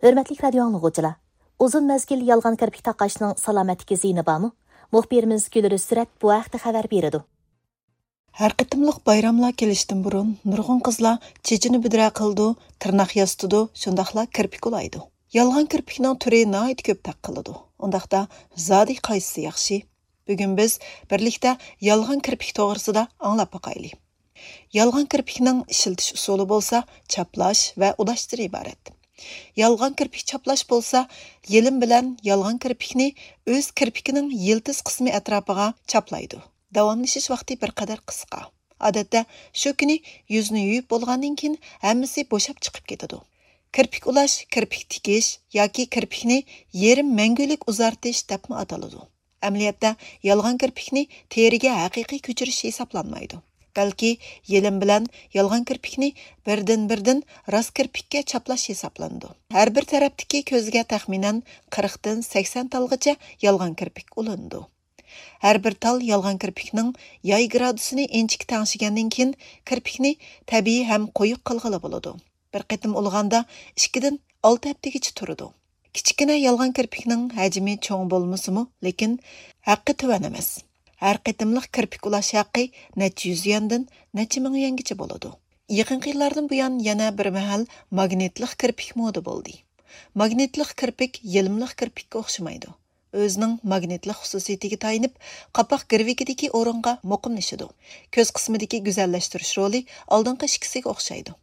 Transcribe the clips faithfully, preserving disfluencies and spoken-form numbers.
ھۆرمەتلىك رادىيو ئاڭلىغۇچىلار، ئۇزۇن مەزگىل يالغان كىرپىك تاقاشنىڭ سالامەتلىككە زىيىنى بارمۇ؟ مۇخبىرىمىز گۈلرۈز سۈرەت بۇ ھەقتە خەۋەر بېرىدۇ. ھەر قېتىملىق بايراملار كېلىشتىن بۇرۇن نۇرغۇن قىزلار چېچىنى بۈدرە قىلىدۇ، تىرناق ياسىتىدۇ، شۇنداقلا كىرپىك ئۇلايدۇ. يالغان كىرپىكنىڭ تۈرى ناھايىتى كۆپ تەق قىلىدۇ. ئۇنداقتا زادى قايسىسى ياخشى؟ بۈگۈن بىز بىرلىكتە يالغان كىرپىك توغرىسىدا ئاڭلاپ باقايلى. يالغان كىرپىكنىڭ ئىشلىتىش ئۇسۇلى بولسا چاپلاش ۋە ئۇلاشتىن ئىبارەت. يالغان كىرپىك چاپلاش بولسا يېلىم بىلەن يالغان كىرپىكنى ئۆز كىرپىكىنىڭ يىلتىز قىسمى ئەتراپىغا چاپلايدۇ. داۋاملىشىش ۋاقتى بىر قەدەر قىسقا. ئادەتتە شۇ كۈنى يۈزنى يۇيۇپ بولغاندىن كېيىن ھەممىسى بوشاپ چىقىپ كېتىدۇ. كىرپىك ئۇلاش، كىرپىك تىكىش ياكى كىرپىكنى يېرىم مەڭگۈلۈك ئۇزارتىش دەپمۇ ئاتىلىدۇ. ئەمەلىيەتتە يالغان كىرپىكنى تېرىگە ھەقىقىي كۆچۈرۈش ھېسابلانمايدۇ. بەلكى يېلىم بىلەن يالغان كىرپىكنى بىردىن-بىردىن راست كىرپىككە چاپلاش ھېسابلىنىدۇ. ھەر بىر تەرەپتىكى كۆزگە تەخمىنەن قىرىقتىن سەكسەن تالغىچە يالغان كىرپىك ئۇلىنىدۇ. ھەر بىر تال يالغان كىرپىكنىڭ ياي گرادۇسىنى ئىنچىكە تەڭشىگەندىن كېيىن، كىرپىكنى تەبىئىي ھەم قويۇق قىلغىلى بولىدۇ. بىر قېتىم ئۇلىغاندا ئىككىدىن ئالتە ھەپتىگىچە تۇرىدۇ. كىچىككىنە يالغان كىرپىكنىڭ ھەجمى چوڭ بولمىسىمۇ، لېكىن ھەققى تۆۋەن ئەمەس. ھەر قېتىملىق كىرپىك ئۇلاش ھەققى نەچچە يۈز يۈەندىن نەچچە مىڭ يۈەنگىچە بولىدۇ. يېقىنقى يىللاردىن بۇيان يەنە بىر مەھەل ماگنىتلىق كىرپىك مودا بولدى. ماگنىتلىق كىرپىك يېلىملىق كىرپىككە ئوخشىمايدۇ. ئۆزىنىڭ ماگنىتلىق خۇسۇسىيىتىگە تايىنىپ، قاپاق گىرۋىكىدىكى ئورۇنغا مۇقىملىشىدۇ. كۆز قىسمىدىكى گۈزەللەشتۈرۈش رولى ئالدىنقى ئىككىسىگە ئوخشايدۇ.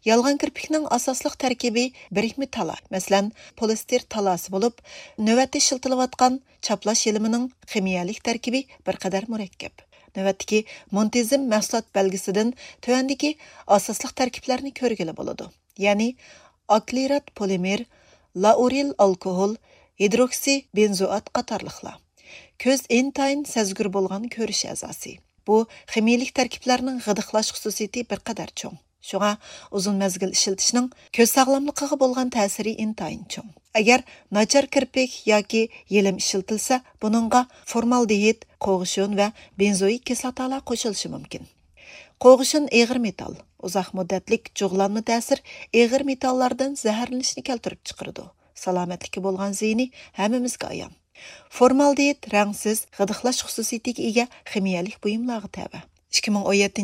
يالغان كىرپىكنىڭ ئاساسلىق تەركىبى بىرىكمە تالا، مەسىلەن، پولىستېر تالاسى بولۇپ، نۆۋەتتە ئىشلىتىلىۋاتقان چاپلاش يېلىمىنىڭ خىمىيەلىك تەركىبى بىر قەدەر مۇرەككەپ. نۆۋەتتىكى مونتىزېم مەھسۇلات بەلگىسىدىن تۆۋەندىكى ئاساسلىق تەركىبلەرنى كۆرگىلى بولىدۇ. يەنى ئاكرىلات پولىمېر، لائۇرىل ئالكوھول، ھىدروكسى بېنزوئات قاتارلىقلار. كۆز ئىنتايىن سەزگۈر بولغان كۆرۈش ئەزاسى. بۇ خىمىيەلىك تەركىبلەرنىڭ غىدىقلاش خۇسۇسىيىتى بىر قەدەر چوڭ. شۇڭا ئۇزۇن مەزگىل ئىشلىتىشنىڭ كۆز ساغلاملىقىغا بولغان تەسىرى ئىنتايىن چوڭ. ئەگەر ناچار كىرپىك ياكى يېلىم ئىشلىتىلسە، بۇنىڭغا فورمالدېھىد، قوغۇشۇن ۋە بېنزوئىك كىسلاتالار قوشۇلۇشى مۇمكىن. قوغۇشۇن ئېغىر مېتال، ئۇزاق مۇددەتلىك جۇغلانما تەسىر ئېغىر مېتاللاردىن زەھەرلىنىشنى كەلتۈرۈپ چىقىرىدۇ. سالامەتلىككە بولغان زىيىنى ھەممىمىزگە ئايان. فورمالدېھىد رەڭسىز، غىدىقلاش خۇسۇسىيىتىگە ئىگە خىمىيەلىك بۇيۇملارغا تەۋە. ئىككى مىڭ ئون يەتتىنچى